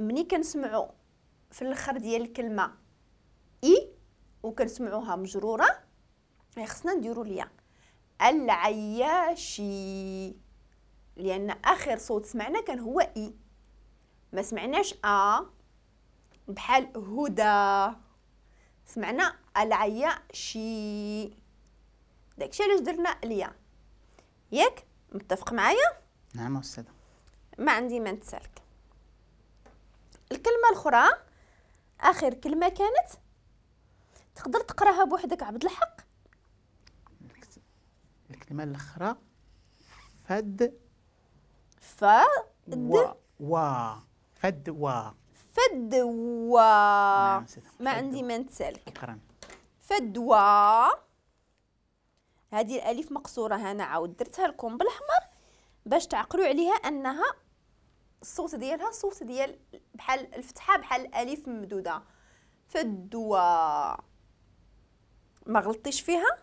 ملي كنسمعوا في الاخر ديال الكلمة اي وكنسمعوها مجرورة خصنا نديروا الياء. العياشي، لان اخر صوت سمعنا كان هو اي، ما سمعناش ا بحال هدى، سمعنا العياشي، داكشي علاش درنا الياء. ياك متفق معايا؟ نعم أستاذة. ما عندي ما نتسالك. الكلمة الاخرى اخر كلمة كانت تقدر تقراها بوحدك عبد الحق؟ الكلمة الاخرى فد فد وا فدوى. فدوى. نعم، ما عندي ما نتسالك. شكرا. فدوى، هذه الالف مقصورة، هنا عاود درتها لكم بالاحمر باش تعقلوا عليها انها الصوت ديالها صوت ديال بحال الفتحة، بحال الالف ممدوده. فدوى، ما غلطتيش فيها؟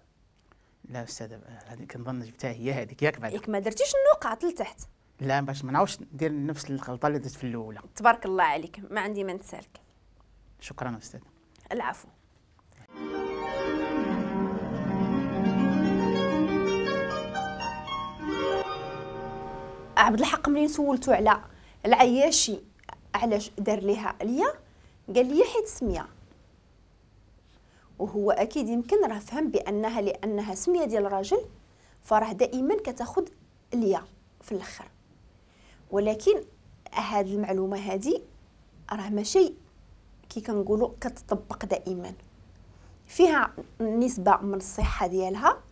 لا استاذه، هذه كنظن جبتها هي هذيك، ياك بعدا؟ ياك ما درتيش النقاط لتحت؟ لا، باش ما نعاودش ندير نفس الغلطة اللي درت في الاولى. تبارك الله عليك، ما عندي ما نتسالك. شكرا استاذه. العفو. عبد الحق ملي سولتو على العياشي علاش دار ليها اليا، قال لي حيت سميه، وهو اكيد يمكن راه فهم بانها لانها سميه ديال راجل فراه دائما كتاخذ اليا في الاخر. ولكن هاد المعلومة هادي راه ماشي كي كنقولوا كتطبق دائما، فيها نسبه من الصحة ديالها،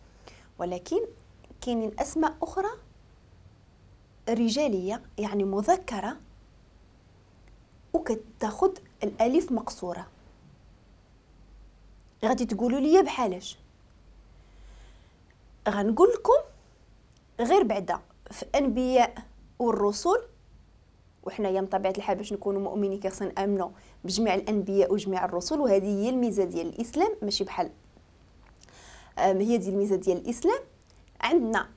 ولكن كاينين اسماء اخرى رجالية يعني مذكره وكتاخذ الالف مقصورة. غادي تقولوا لي بحالاش؟ غنقول لكم غير بعدا في انبياء والرسل، وحنايا من طبيعة الحال باش نكونوا مؤمنين كيخصنا نامنوا بجميع الانبياء وجميع الرسل، وهذه هي الميزة ديال الاسلام، ماشي بحال هي ديال الميزة ديال الاسلام. عندنا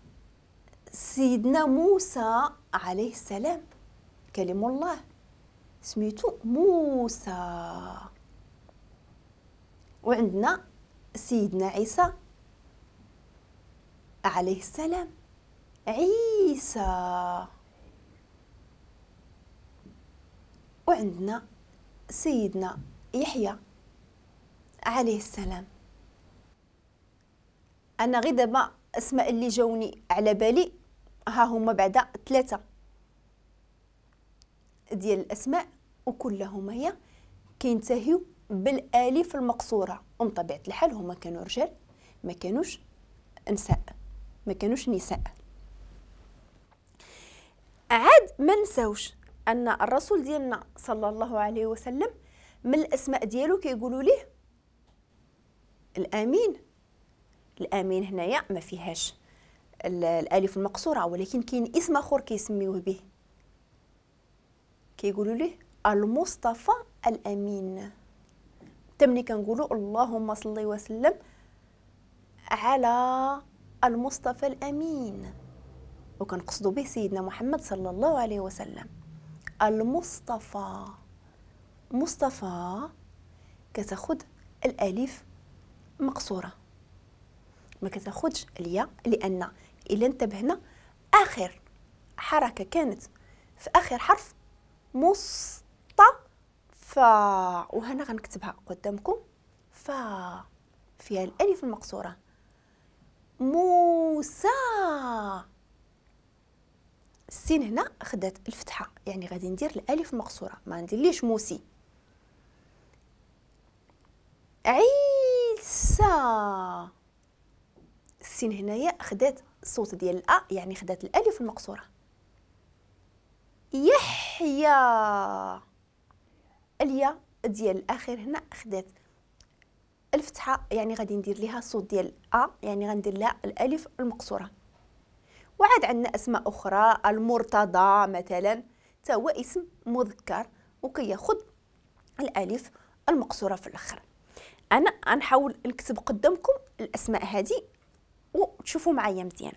سيدنا موسى عليه السلام كلم الله، سميتو موسى. وعندنا سيدنا عيسى عليه السلام، عيسى. وعندنا سيدنا يحيى عليه السلام. انا غير دابا اسماء اللي جاوني على بالي ها هما بعدا 3 ديال الاسماء، وكلهما هي كينتهيو بالالف المقصورة. ومن طبيعة الحال هما كانوا رجال، ما كانوش نساء، ما كانوش نساء. عاد ما نساوش ان الرسول ديالنا صلى الله عليه وسلم من الاسماء ديالو كيقولوا ليه الامين. الامين هنايا ما فيهاش الالف المقصورة، ولكن كاين اسم اخر كيسميوه به، كيقولوا ليه المصطفى الامين. تمني كنقولوا اللهم صل وسلم على المصطفى الامين، وكنقصدوا به سيدنا محمد صلى الله عليه وسلم. المصطفى، مصطفى كتاخذ الالف مقصورة، ما كتاخذش الياء، لان الا انتبهنا اخر حركة كانت في اخر حرف مصطفى، وهنا غنكتبها قدامكم فا فيها الالف المقصورة. موسى، السين هنا خدات الفتحة، يعني غادي ندير الالف المقصورة، ما نديرليش موسي. عيسى، السين هنايا خدات الصوت ديال الأ، يعني خدات الالف المقصورة. يحيى، اليا ديال الاخير هنا خدات الفتحة، يعني غادي ندير ليها الصوت ديال أ، يعني غندير لها الالف المقصورة. وعاد عندنا اسماء اخرى، المرتضى مثلا، حتى هو اسم مذكر وكياخذ الالف المقصورة في الاخر. انا غنحاول نكتب قدامكم الاسماء هذه وتشوفوا معايا مزيان.